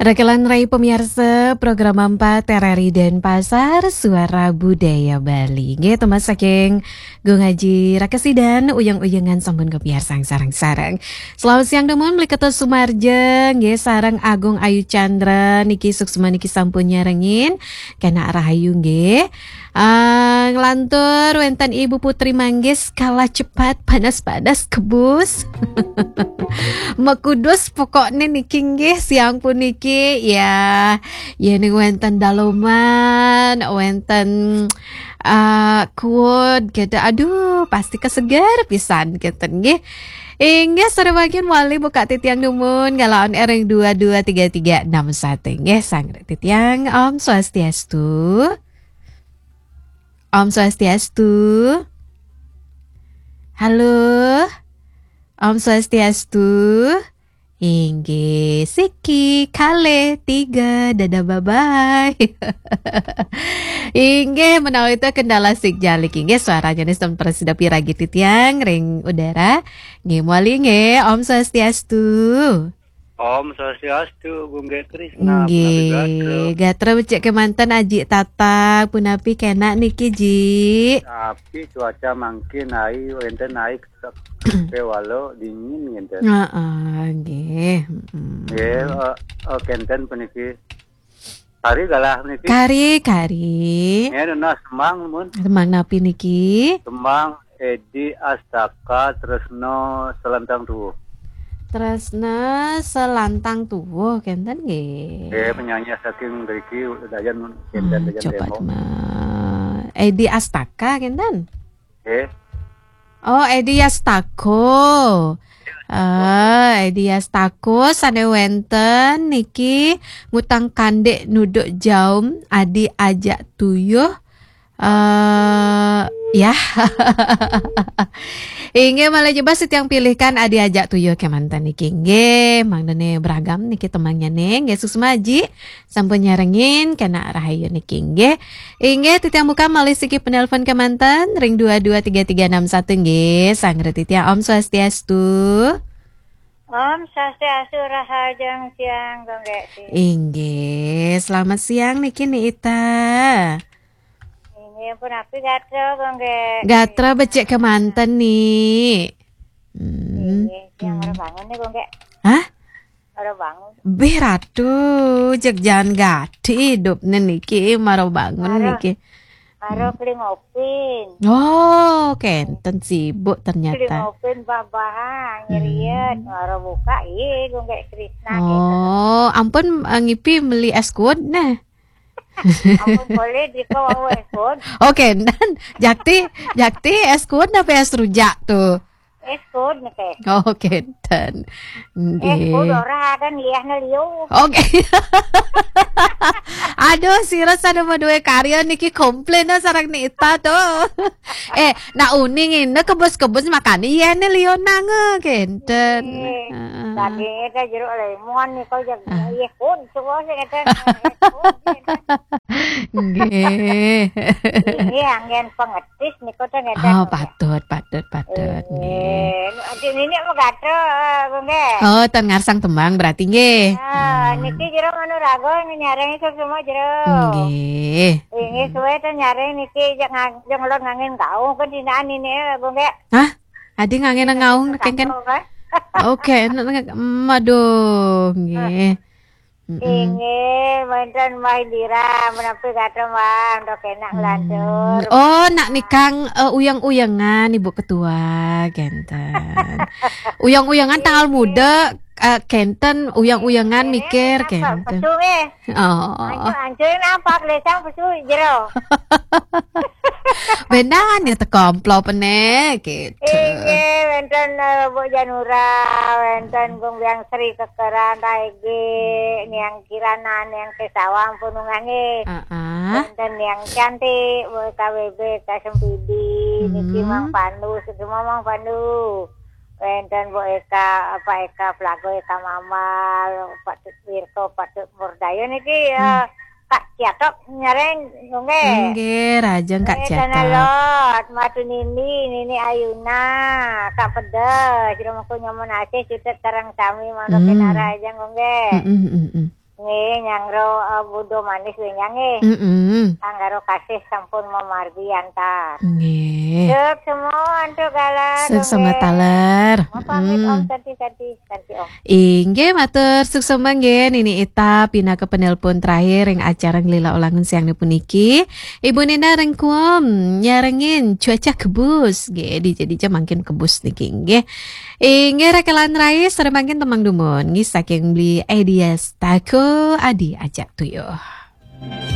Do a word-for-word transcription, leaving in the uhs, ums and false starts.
Rekelan rai pemirsa program empat R R I Denpasar, Suara Budaya Bali. Nggih, temas saking Gung Aji Rakesidan, uyang-uyangan sampun kapiarsang sareng-sareng. Selamat siang dumun, Bli Ketut Sumarja, nggih, sareng Agung Ayu Chandra, niki suksma niki sampun nyarengin, kena rahayu nggih. Ah, nglantur wenten Ibu Putri Manggis, kalah cepat, panas-panas kebus. Mekudus pokokne niki nggih siang puniki ya. Yen wenten daloman, wenten ah, kuud gitu. Aduh, pasti keseger pisan gitu nggih. Inggih, sore bagian wali buka titiang dumun, ngalaon ering dua dua tiga tiga enam satu nggih, sangre titiang. Om Swastiastu. Om Swastiastu. Halo. Om Swastiastu. Inggih, siki, kale, tiga, dadah, bye-bye. Inggih, menawi itu kendala signal niki. Inggih, suaranya nih sampun prasida piragi titiang ring udara. Nggih, mawali nggih, Om Swastiastu. Om Swastiastu, Gung Gek Krisna, punapi gatra? Nggih, gatra becik kemanten Aji Tatang, punapi kena niki, Ji? Tapi cuaca mangkin ai, wenten ai, kewalo dingin ngenten. Heeh, nggih. Mm. Nggih, eh, eh, kenten puniki. Kari galah puniki. Kari, kari. Nggih, nunas tembang, mun. Tembang napi niki? Tembang Edi Astaka Tresno Selantang Tuwuh. Tresno Selantang Tuwuh, kenten nggih. Nggih, penyanyi saking mriki, Dayan, kenten, hmm, Dayan coba Temo. Edi Astaka, kenten? Nggih. Oh, Edi Astako. Ah, Edi Astako sane wenten niki ngutang kandik nuduk jaum Adi Ajak Tuyuh. Eh, ya. Inggih, malih jebas titiang pilihkan Adi Ajak Tuyuh kemanten niki. Nggih, mangdane beragam niki tembangnye nih. Nggih, suksma Aji. Sampun nyarengin, kena rahayu niki nggih. Inggih, titiang buka malih siki penelpon kemanten ring dua dua tiga tiga enam satu nggih. Sangre titiang Om Swastiastu. Om Swastiastu, rahajeng siang, Gung Gek. Inggih, selamat siang niki Ni Ita. Inggih, punapi gatra, Gung Gek? Gatra becik kemanten, Ni. Hmm. Inggih, siang, hmm, mara bangun nih, Gung Gek. Hah? Mara bangun. Bih, Ratu, jeg jan gati idupne niki, mara bangun mara, niki. Mara, hmm, kelingopin. Oh, kenten sibuk ternyata. Kelingopin babahang, nyeriet, hmm, mara buka, ih, Gung Gek Krisna, gitu. Oh, ampun, eh, ngipi meli es kuud, nah. Ampun boleh, diko wau es kuud. Oh, kenten. Jakti, jakti es kuud apa es rujak tuh? Es kuud niki. Oh, kenten. Es kuud nggih. Ora kan liahne liu. Oke. Aduh, sira sane madue karya niki komplain sareng Ni Ita tuh. Eh, nak uning ini kebus-kebus makane yene liu nang, eh, kenten. Nggih. Heeh. Dagingnya kayak jeruk lemon nih, kok, ya, ah, es kuud, semua sih kata, es kuud, gitu. Nggih. Ini angin pengetis nih, kok, ternyata. Oh, patut, patut, patut. Nggih. Eh, nu, adik ini mau gatel, eh, Gung Gek. Oh, ten ngarsang tembang berarti nggih. Ah, hmm, niki jero manu rago nyareng iso semua jero. Nggih. Ini suwe ten nyareng niki, jak ngang-, jak ngelot ngangin gaung, kan dinaan ini, eh, Gung Gek. Hah? Adi ngangen ngaung kengken. Oke, n-, n-, maduh, nggih. Mm-mm. Inggih, wonten Mbah Indira, menawi kata Mbah, untuk enak, hmm, nglantur. Oh, nak nikang, eh, uyang-uyangan, Ibu Ketua, kenten. Uyang-uyangan tanggal muda, eh, kenten, uyang-uyangan nggih, mikir, apa, kenten. Pesu nggih. Oh. Ancur, ancur napa, klesang pesu jero. Bendan ya teko amplopne, gitu. Inggih, wenten, eh, Bu Janura, wenten Gung Biang Sri Kekeran, Raege, Niang Kirana, Niang Kesawa, ampun ungah nggih. Heeh. Wenten Niang Cantik, Bu K W B, K Sempidi, niki, hmm, Mang Pandu, semua Mang Pandu. Wenten Bu Eka, Pak Eka Plago, Eka Mamal, Pak Tut Wirko, Pak Tut Murdayo niki ya. Hmm. Kak Ciatok nyareng, nggih. Nggih, rajeng Kak Ciatok. Eh, Tanah Lot, Matu Nindi, Nini Ayuna, Kak Pedes, Rumahku Nyoman Aceh, Cutet Karang Sami, Mangga, hmm, Kenara aja, nggih. Mm, mm, mm, mm. Nggih, nyangro, eh, budo manis nggih, nyang, nggih. Mm-mm. Anggaro kasih sampun mamargi antar. Nggih. Sukses semua antuk galar. Sukses semua Nggih. Taler. Mau pamit, Mm. Om, kanti, kanti, kanti, Om. Inggih, matur suksma nggih Nini Ita pinaka penelpon terakhir ing acara Nglila Ulangun siang puniki. Ibu Nina Rengkuam nyarengin cuaca kebus nggih, dija-dija mangkin kebus niki nggih. Inggih, rekelan rai sare mangkin temang dumun nggih saking Beli Edias Tako Adi Ajak Tuyuh.